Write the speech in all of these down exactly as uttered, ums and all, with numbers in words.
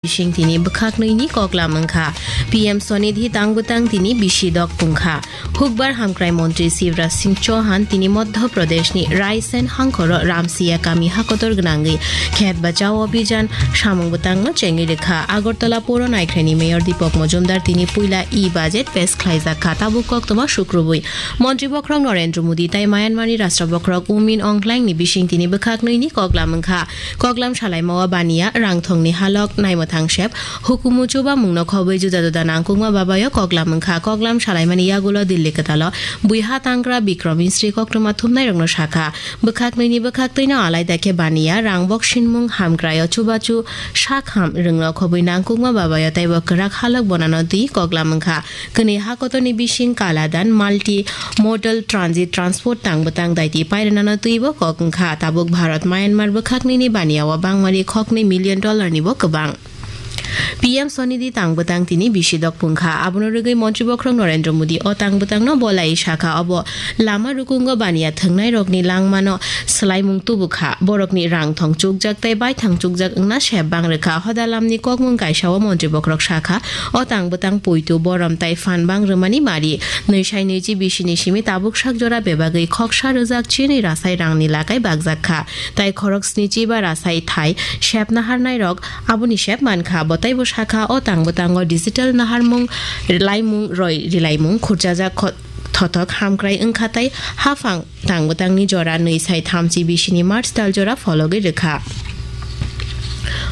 bising tini bwkhak nwi ni koklam wngkha. P M Swanidhi tang bwtang tini bisi dok pungkha. Hukbar hamkrai montri Shivraj Singh Chauhan tini Madhya Pradesh ni Raisen hangkhoro Ramsiya kami hakotor gwnangwi khet bachao abhijan samung bwtang no chengwi rwkha. Agartala poro naikhrai ni mayor Deepak Majumdar tini puila e-budget pes khlaijak kha. Tabuk koktwma sukrubwi montri bokhorok Narendra Modi tai Myanmar ni rashtra bokhorok U Min Aung Hlaing ni bising tini bwkhak nwi ni koklam wngkha. Koklam salaimao baniya rangthongni halok naimwthang sep hukumu chubamungno khobwi juda juda nangkukma babayo koklam wngkha. Koklam salaimani yagulo Delhi kwtalo buiha tangra Bikram Misri koktwma thumnairokno sakha. Bwkhak nwi ni bwkhak twino alaida khe baniya rangbok sinmung hamkraio chubachu sakham rwngno khobwi nangkukma babayo teibo kwrak halok bonano twi koklam wngkha. Kwnwi hakotorni bising kaladan multi modal transit transport tang bwtang daiti pairwnano twibo kok wngkha. Tabuk Bharat Myanmar bwkhaknini baniao bangmani khoknwi million dollar nibo kwbang. P M Swanidhi tang bwtang tini bisi dok pungkha. Abono rwgwi montri bokhorok Narendra Modi o tang bwtangno bolai sakha, obo lama rukungo baniya thwngnairokni langmano swlaimung tubukha. Borokni rangthong chukjak tei baithang chukjak wngna sep bang rwkha. Hoda lamni kokmung kaisao montri bokhorok sakha, o tang bwtang poito borom tai phan bang rwmani mari. Nwi sai nwi chi bisini simi tabuk sak jora bebagwi khoksa rwjak chinwi rasai rangni lakai bakjak kha. Tai khorok sni chi ba rasai thai sep naharnairok aboni sep mankha. Bo taibo sakha, o tang bwtango digital naharmung, rilaimung, roi rilaimung, khurchajak kho-, thothok hamkrai wngkha tai haphang tang bwtangni jora nwi sai thamchi bisini March tal jora phologwi rwkha.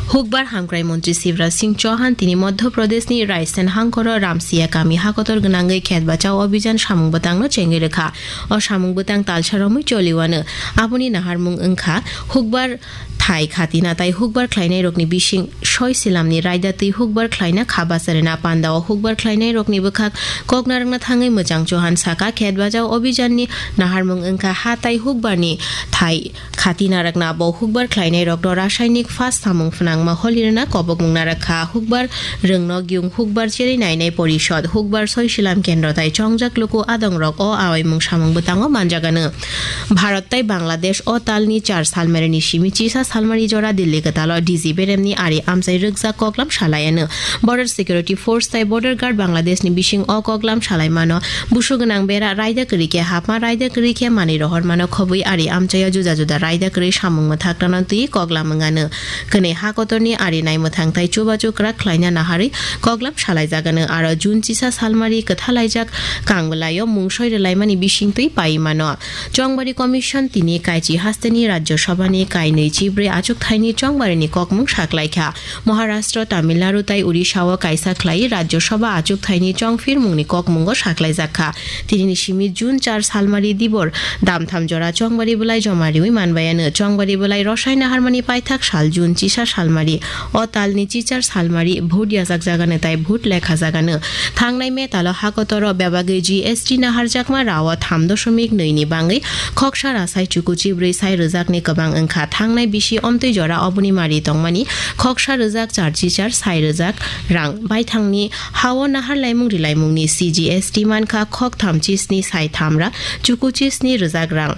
Hukbar hamkrai montri Shivraj Singh Chauhan tini Madhya Pradeshni Raisen hangkoro Ramsiya kami hakotor gwnangwi khet bachao abhijan samung bwtangno chengwi rwkha. O samung bwtang talsa romwi choliwano. Aboni naharmung wngkha hukbar thai khatina tai hukbar khlainairokni bising soi silamni raida twi hukbar khlaina kha bacharina pandao hukbar khlainairokni bwkhak koknarwkna thangwi Mwchang Chauhan sakha, khet bachao abhijanni naharmung wngkha ha tai hukbarni thai khatina rwkna. Bo hukbar khlainairokno rasainik phas samung phnangma holirwna kobokmung narwkha. Hukbar rwngno gyung hukbar cherwi nainai porishod, hukbar soi silam kendro tai chongjak luku adongrok o awaimung samung bwtango manjagano. Bharat tai Bangladesh o talni char salmarini simi chisa salmari jora Delhi kwtalo D G beremni ari amchai rwkjak koklam salaiano. Border Security Force tai Border Guard Bangladeshni bising o koklam salaimano busu gwnang bera raida kwrwi khe hapma raida kwrwi khe manwi rohormano khobwi ari amchaio juda juda raida kwrwi samung mwthaknano twi koklam wngano. Kwnwi ha kotorni ari naimwthang tai chubachu kwrak khlaina naharwi koklam salaijagano. Aro June chisa salmari kwthalaijak kangwlaio mungsoi rwlaimani bisingtwi paiwi mano. Chongbari Commission tini kaichi hasteni Rajya Sabhani kainwi chibrwi achukthaini chongbarini kokmung saklaikha. Maharashtra, Tamil Nadu tai Odisha-o kaisa khlaiwi Rajya Sabha achukthaini chongphirmungni kokmungo saklaijakha. Tinini simi June char salmari dibor damtham jora chongbari bwlai joma riwi manbaiano. Chongbari bwlai rosai naharmani paithak sal June chisa salmari. O talni chichar salmari vote yajakjagano tai vote lekhajagano. Thangnai May talo hakotoro bebagwi G S T naharjakma rao tham doshomik nwi ni bangwi khoksa rasai chukuchi bwrwi sai rwjakni kwbang wngkha. Thangnai bisi omtwi jora oboni mari tongmani khoksa rwjak char chichar sai rwjak rang. Baithangni hao nahar laimung rilaimungni C G S T mankha khoktham chisni sai thamra chukuchi sni rwjak rang.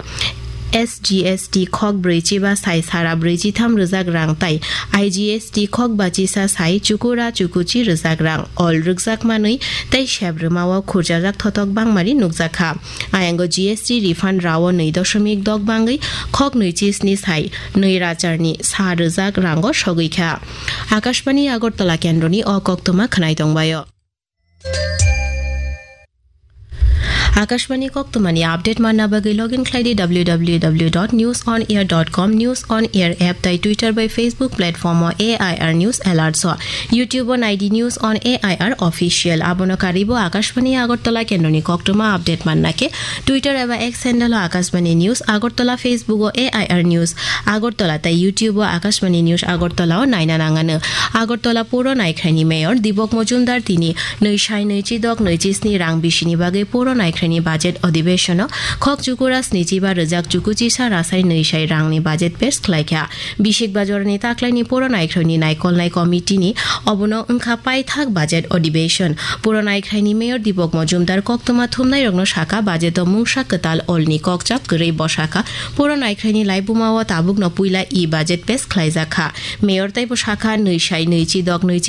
S G S T khok brwi chiba sai sara brwi chitham rwjak rang tai I G S T khok bachisa sai chukura chukuchi rwjak rang. Ol rwkjak manwi tei sep rwmao khurjajak thotok bangmari nukjakha. Ayango G S T refund rao nwi doshomik dok bangwi khok nwi chisni sai nwi racharni sa rwjak rango sogwi kha. Akashbani Agartala kendroni o koktwma khwnai tongbaio. Akashbani koktwmani update manna bagwi login khlai di W W W dot news on air dot com, News on Air app tai Twitter bai Facebook platform o A I R News Alerts o, YouTube o nai di News on A I R Official. Abono karwi bo Akashbani Agartala kendroni koktwma update manna khe Twitter eba X handle o Akashbani News Agartala, Facebook o A I R News Agartala tai YouTube o Akashbani News Agartala o naina nangano. Agartala puro naikhraini mayor Dibok Mojumdar tini nwi sai nwi chidok nwi chisni rang bisini bagwi puro naikhraini budget adhibeshon o khok chukura snichi ba rwjak chukuchisa rasai nwi sai rangni budget pes khlaikha. Bisik bajorni taklaini puro naikhraini naikolnai committee ni obono wngkha paithak budget adhibeshon. Puro naikhraini mayor Dibok Mojumdar koktwma thumnairokno sakha, budget o mungsa kwtal olni kokchap kwrwi bwsakha. Puro naikhraini laibuma o tabukno puila e-budget pes khlaijakha. Mayor teibo sakha, nwi sai nwi chidok nwi